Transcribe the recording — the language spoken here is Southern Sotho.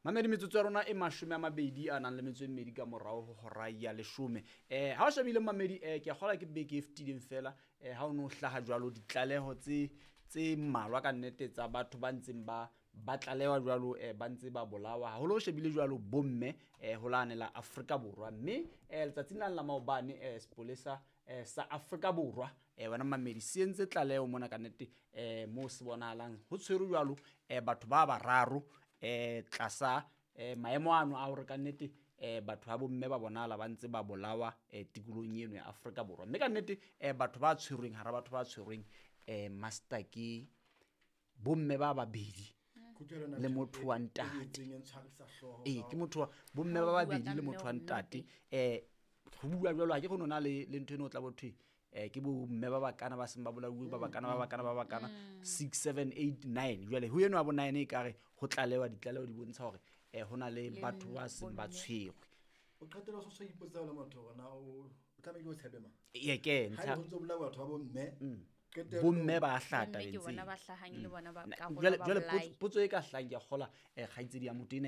Mamedi, metsotso ya rona e 20 a nang le metso e mmedi ka morao ho hora ya 10. Ha o shebile mamedi, ke a kgolwa ke beke e fetileng fela, ha o no hlaha jwalo ditlaleho tse mmalwa ka nnete tsa batho ba ntseng ba tlalewa jwalo, ba ntse ba bolawa haholo. O shebile jwalo bomme, ho lane la Afrika Borwa. Mme letsatsing lane la maobane, sepolesa sa Afrika Borwa, wena mamedi, se entse tlaleho mona ka nnete, moo se bonahalang ho tshwerwe jwalo, batho ba bararo, tlasa maemo ano a hore ka nnete, batho ba bomme ba bonahala ba ntse ba bolawa, tikolohong eno ya Afrika Borwa. Mme ka nnete, batho ba tshwerweng, hara batho ba tshwerweng, master ke bomme ba babedi le motho wa ntate. Ee, ke motho wa bomme ba babedi le motho wa ntate. Ho bua jwalo ha ke kgone ho na le ntho eno o tla bo thwe, ke bomme ba bakana ba seng ba bolauwe, ba bakana, ba bakana, ba bakana, 6 7 8 9. Jwale ho eno ya bo 9 e kare ho tlalewa, ditlaleho di bontsha hore, ho na le batho ba seng ba tshwerwe. O qetella o so ipotsa le motho hore na o tlamehile o tshepe mang. Ee, ke ntlha. Ha ho ntso bolawa batho ba bomme, bomme ba hlata Bomme ke bona ba hlahang le bona ba karolo Jwale ba jwale bolai. Potso e ka hlahang ke a kgola, kgaitsedi ya motho ena.